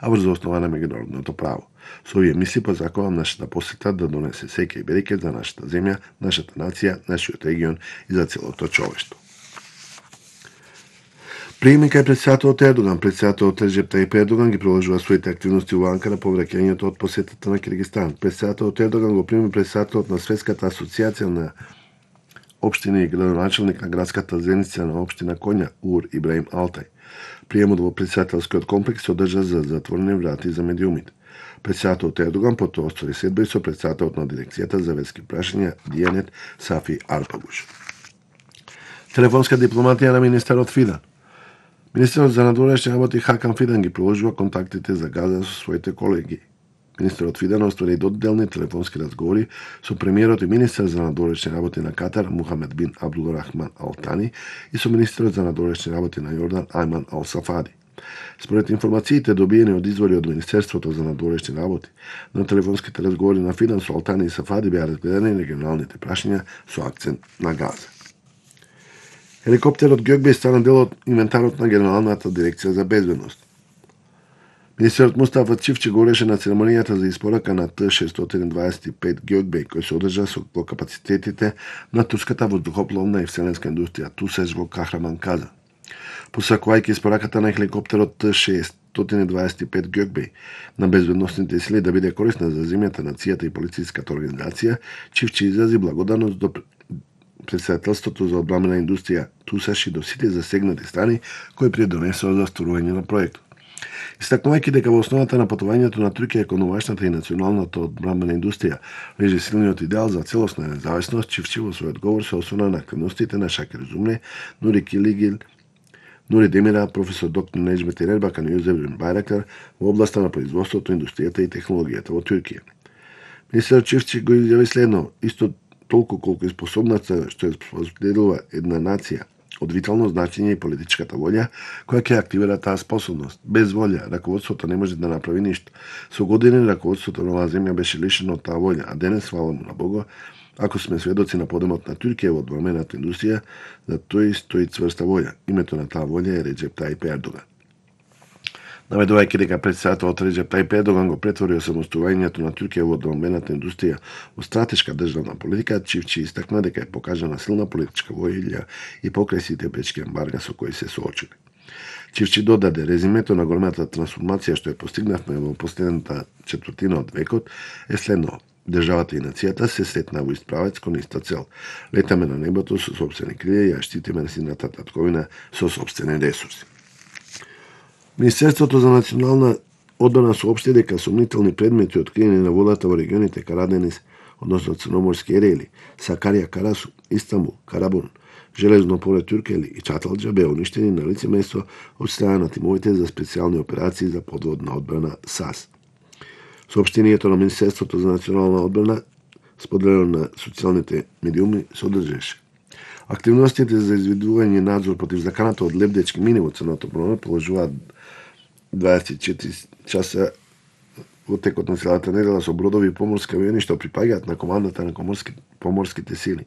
а врз основа на меѓународното право. Со овие мисли позакувам нашата посета да донесе сеќа и берекет за нашата земја, нашата нација, нашиот регион и за целото човештво. Приеми кај претседателот Ердоган, претседателот Реджеп Тајип Ердоган ги продолжува своите активности во Анкара по враќањето од посетата на Киргизстан. Претседателот Ердоган го прими претседателот на Светската асоциација на општини и градоначалник на градската зеница на општина Конја, Ур Ибраим Алтай. Приемот во претседателскиот комплекс се одржа за затворени врати за медиумите. Претседателот Ердоган потоа оствари седба и со претседателот на дирекцијата за верски прашања Дијанет Сафи Арпагуш. Телефонска дипломатија на министерот Фидан. Министерот за надворешни работи Хакан Фидан ги продолжува контактите за Газа со своите колеги. Министерот Фидан оствари доделни телефонски разговори со премиерот и министер за надворешни работи на Катар Мухамед бин Абдулрахман Ал Тани и со министерот за надворешни работи на Јордан Ајман Ал Сафади. Според информациите добиени од извори од Министерството за надворешни работи, на телефонските разговори на Фидан со Ал Тани и Сафади беа разгледани регионалните прашања со акцент на Газа. Хеликоптерот Гјокбеј стана дел од инвентарот на Генералната дирекција за безбедност. Министерот Мустафа Чивчи го реше на церемонијата за испорака на Т-625 Гјокбеј, кој се одржа со капацитетите на турската воздухопловна и вселенска индустрија ТУСЕЖ во Кахраман Каза. Посакувајќи испораката на хеликоптерот Т-625 Гјокбеј на безбедносните сили да биде корисна за земјата, нацијата и полициската организација, Чивчи изрази благодарност до Председателството за одбрамбена индустрија ТУСЕЖ и до сите засегнати страни кои придонесоа за остварување на проектот. Истакнувајќи дека во основата на патувањето на Туркија кон новашната и националната одбрамбена индустрија лежи силниот идеал за целосна независност, Чивчи во својот говор се осврна на активностите на Шакир Зумне, Нури Килигил, Нури Демира, професор доктор Неџмет Ербакан и Јозеф бин Байрактар во областа на производството, индустријата и технологијата во Туркија. Министерот Чивчи го изјави следно: исто толку колку е способната што е споделува една нација од витално значење и политичката волја која ќе активира таа способност. Без волја раководството не може да направи ништо. Со години раководството на оваа земја беше лишено од таа волја, а денес, фала му на Бого, ако сме сведоци на подемот на Туркија во одбрамбената индустрија, за тој стои цврста волја. Името на таа волја е Реджеп Тајип Ердоган. Наведувајќи дека претседателот Реджеп Тајип Ердоган го претвори осамостојувањето на Туркија во одбрамбената индустрија во стратешка државна политика, Чивчи истакна дека е покажана силна политичка волја и покрај сите пречки ембарга со кои се соочили. Чивчи додаде: резимето на големата трансформација што ја постигнавме во последната четвртина од векот е следно: државата и нацијата се сретна во ист правец кон иста цел. Летаме на небото со сопствени крилја и ја штитиме сината татковина со сопствени ресурси. Министерството за национална одбрана соопшти дека сомнителни предмети откриени на водата во регионите Караденис, односно Црноморски ерели, Сакарија Карасу, Истанбул, Карабун, Железно поле Туркели и Чаталџа беа уништени на лице место од страна на тимовите за специјални операции за подводна одбрана САС. Соопштението на Министерството за национална одбрана, споделено на социјалните медиуми, содржеше: активностите за изведување и надзор против заканата од лебдечки мини во Црното море положуваат 24 часа во текот на целата недела со бродови и поморски авиони што припаѓаат на командата на поморските сили.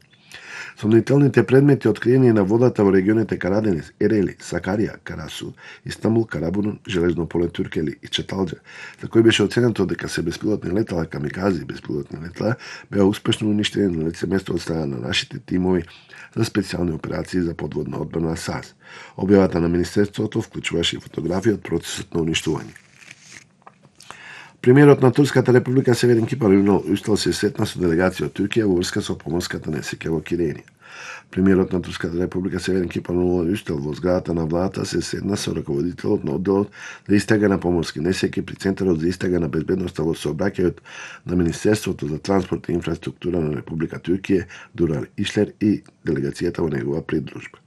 Сомнителните предмети откриени на водата во регионите Караденис, Ерели, Сакарија, Карасу, Истанбул, Карабун, Железно поле Туркели и Чаталџа, за кои беше оценето дека се беспилотни летала камикази беспилотни летала, беа успешно уништени на лице место од страна на нашите тимови за специјални операции за подводна одбрана САС. Објавата на Министерството вклучуваше и фотографии од процесот на уништување. Премиерот на Турската република Северин Кипар Юнал Устал се сретна со делегација од Туркија во врска со поморската несреќа во Киренија. Премиерот на Турската република Северин Кипар Юнал Устал во зградата на владата се сретна со раководителот на одделот за истрага на поморски несреќи при Центарот за истрага на безбедноста во сообраќајот на Министерството за транспорт и инфраструктура на Република Туркија Дурар Ишлер и делегацијата во негова придружба.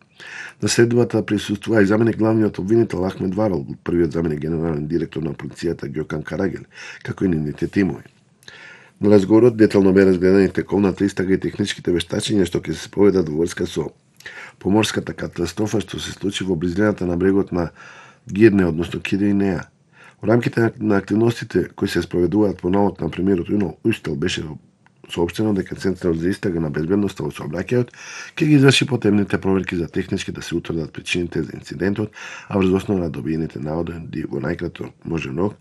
На следбата присуствува и заменик главниот обвинител Ахмед Варол, првиот заменик генерален директор на полицијата Ѓокан Карагел, како и нивните тимови. На разговорот детално беа разгледани тековната истрага и техничките вештачења што ќе се проведат во врска со поморската катастрофа што се случи во близината на брегот на Гирне, односно Киринеа. Во рамките на активностите кои се спроведуваат по навод на премиерот Юнал Устел беше соопштено дека Центарот за истрага на безбедноста во сообраќајот ќе ги изврши потребните проверки за технички да се утврдат причините за инцидентот, а врз основа на добиените наводи во најкратко можен рок